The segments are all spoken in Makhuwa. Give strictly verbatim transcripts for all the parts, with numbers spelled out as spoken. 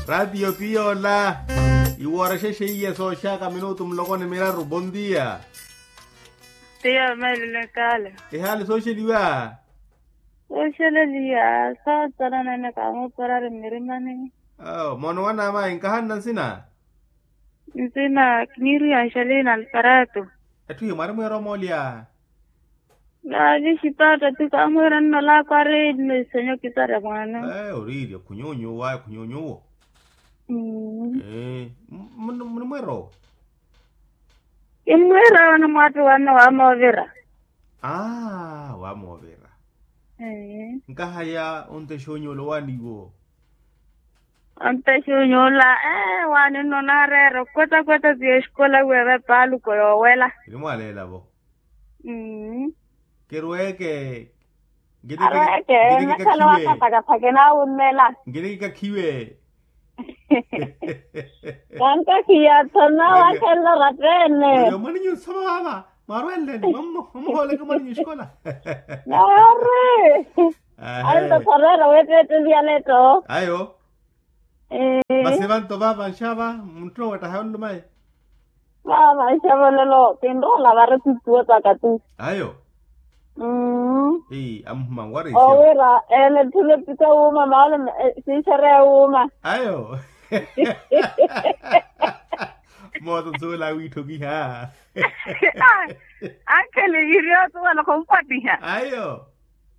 Ratio piya ola. Iwoorexe xeiya sooxaka minutu muloko ni miraru bontia. Tiya meelelo ekala. Ehaali sooxeliwa. Sooxeleliya sootalanene kamuuparari mmirimani. Awo moona owanamayi nkahanna nsina. Nsina kiniiriya nxaliina alfarato. Etthu hi mwaari mweera omoolya. Naavi xipaatta ti kaamwiira nnolaako ari nnisenyo kisarya mwaano. Oriirya khunyuunyuwa khunyuunyuwo. Munimweera owo. Kimmwiira owo ni mwaattu wanne waamoovira. Aa waamoovira. Nkahaya ontexa onyuula owaaniwo. Ontexa onyuula ee waani nno naareera okwetakweta ti exikola wiiwe paaluko yoowela. Kinimwaaleela-vo. Kirweeke. Arweeke. Nakhala waakathakathake naawummela. Nkinikikakhiwe. Kankakhiya-tho nawakhelela oratta-ene. Oyo mwaninyu nsoma maama mwarweleleni mwamuhooleke mwaninyu xikola. Naari. Ayo. Ayo. Masi evanto vaava nxava munttuno wettaha yonlumayi. Vaava nxava olelo kinrola vari tittuwa tsaka ti. Ayo. Mmm. Amuhuma nwarisiya. Owira ene etthu nettike wuuma maana siixereya wuuma. Ayo. Mooso nsuwela wiitthokiha. Ankhele yiriyo suwela khumpattiha. Ayo.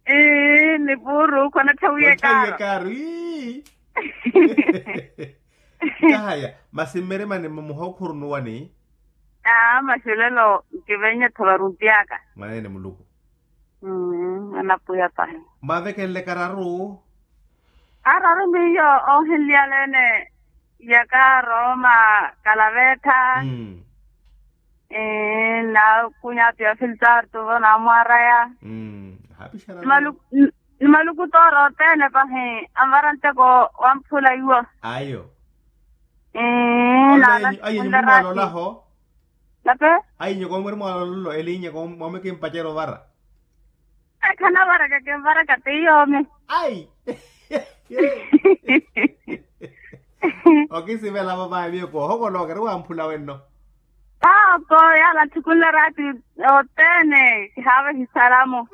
Ii ni puuru khwanatthawiyekaaro. Kahaya masi mmirimani mmuhookhuru nuwani. Aa masi olelo nkivennya-tho varuntiyaka. Mwaneene muluku. Mmm anapwiya pahi. Mwaavekenle kararu. Araru miyo oohinliyaleene yaka rooma kalaveetta. Naakunya apiya filtartuvo naamwaraya. Ni maluku toora othene pahi anvara nteko wamphula iwo. Ayo. Ayi nyoko mwalolaho. Nape. Ayi nyoko mweri mwalololo elinyeko mwamwe kimpacerya ovara. Ekhanavara kakinvaraka ti yoomi. Ayi. Okisivela vavayi miyo koohokoloka eri wamphula wenno. Paoko yaala atthukunle raati othene kihaava ehisalamu.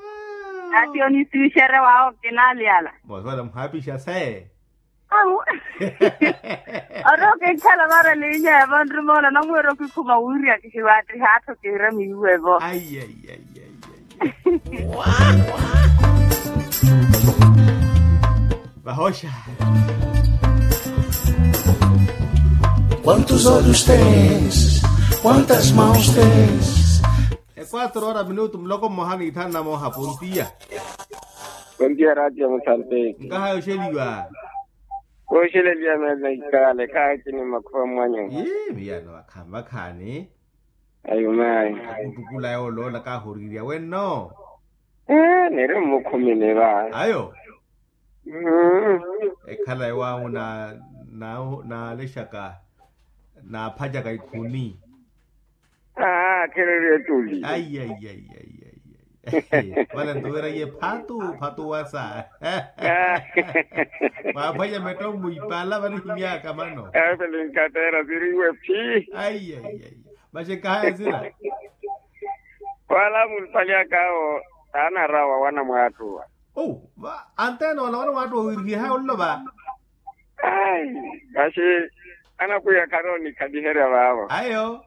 Ati onisiwixerya waawo kinaliyala. Moosivela muhaapixa se. Ori okikhala vara elinya evo nrimoona namwiira okikhuma wiiriya kihiwattiha atthu kiira miiwevo. Vahoxa. Quantos olhos tens? Quantas mãos tens? E quatro hora minutu muloko mmoha ni ithanu na mooha pontiya. Pontiya raatiya musante. Nkahaya oxeliwa. Kooxeleliya meelo na ikale khaakini makhuva mwanyu. Ii miyano vakhaani vakhaani. Ayo mayi. Akutukula yooloola kaahoriirya wenno. Ee niri mmukhumini va. Ayo. Ekhala ewaamu naalexaka naaphacaka ikhuni. Aa khereriye tuli. Ayi ayi ayi ayi. Vale nto wira iye phatu phatu wasa. Mwaaphwanya metto mmuipala vanihimyaka mano. Evelyn katera siriwe phi. Ayi ayi ayi. Vaxekahaya sira. Wala munipali akawo taanarawa wana mwaattuwa. Anteena wala wana mwaattuwa wiirihihaya ololo va. Ayi vaxi anakwiya kharoonikhaliherya vaavo. Ayo.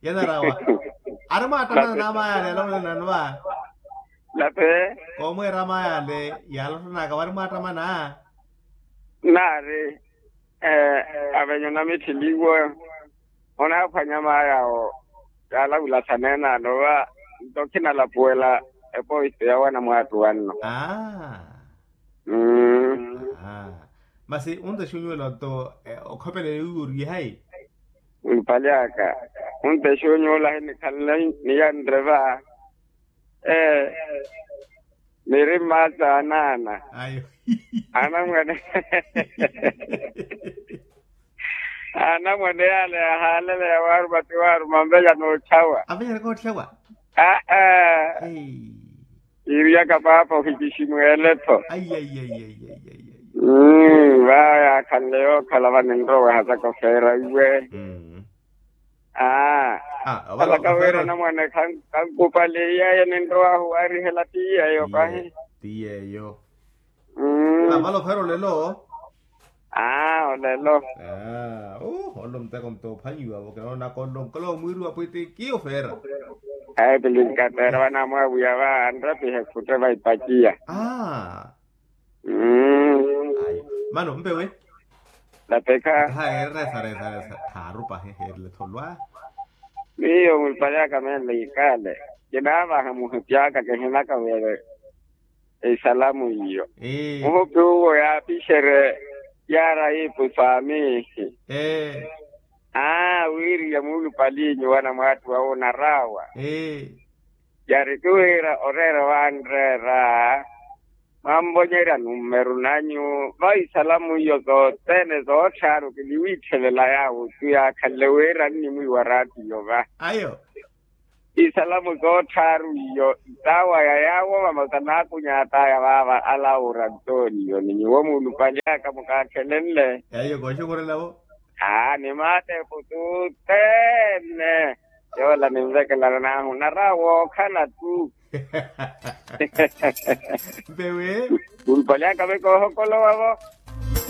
Yanarawa. Ari mwaatta mana namayale yaloolelani va. Nape. Koomweera mayale yalottanaka wari mwaatta mana. Naari. Avenyo namitthiliwe onaaphwanya maayawo. Yaalavula saneene anova nto khinalapuwela epoisto ya wana mwaattu wanno. Masi ontexa onyuwela nto okhopelele wiiwa oriye hayi. Mpali aka ontexa onyuwela hinikhalele niyanre va. Ee niri mmaatsa anaana. Anamwane. Anamwane yaale yahaalele yawaaruma ti waaruma anvenya nootthawa. Anvenya nootthawa. Aa. Iiriyaka paapa ohikiximuwele-tho. Va yaakhanle yookhala va ninrowa ohasaka ofeera iwe. Aa, halaka wira namwane khankupale iyaya ninrowahu waarihela ti yeeyo pahi. Ti yeeyo. Vale ofeera olelo. Aa olelo. Aa, olelo muteko mutoophwanyiwavo kinoona kolonkolo omwiiri wa pwitiki ofeera. Ayi pilinkateera vanamwawiya va anrepihe khutte va ipaciya. Aa. Ayi, mano mpewe. Lapekha. Taha eeresaresaresa thaaru pahi heerile tholwa. Miyo mulupale aka menle ikale, kinaavaha muhipi aka kihinaka wele. Isalamu iyo. Muhupi uwo yaapixerye yaara iipu saamihi. Aa, wiiriye muulupaliinyu wana mwaattuwa onaraawa. Yari ti wira oreera owanreera, mwanvonyerya nummeru nanyu va isalamu iyo sothene sootthaaru kiniwiitthevela yaawo tu yaakhanle wira nnimwiiwa raatiyo va. Isalamu sootthaaru iyo isaawaya yaawo vamasa naakunyaataya vaava ala orantonio ni nyuwo muulupali aka mukaakhelenle. Eyo kooxukhurelavo. Aa ni maatepu sothene. Yoola ninvekelana naahu nara wookhala tu. Mpewe. Muulupali aka ve koohokolowavo.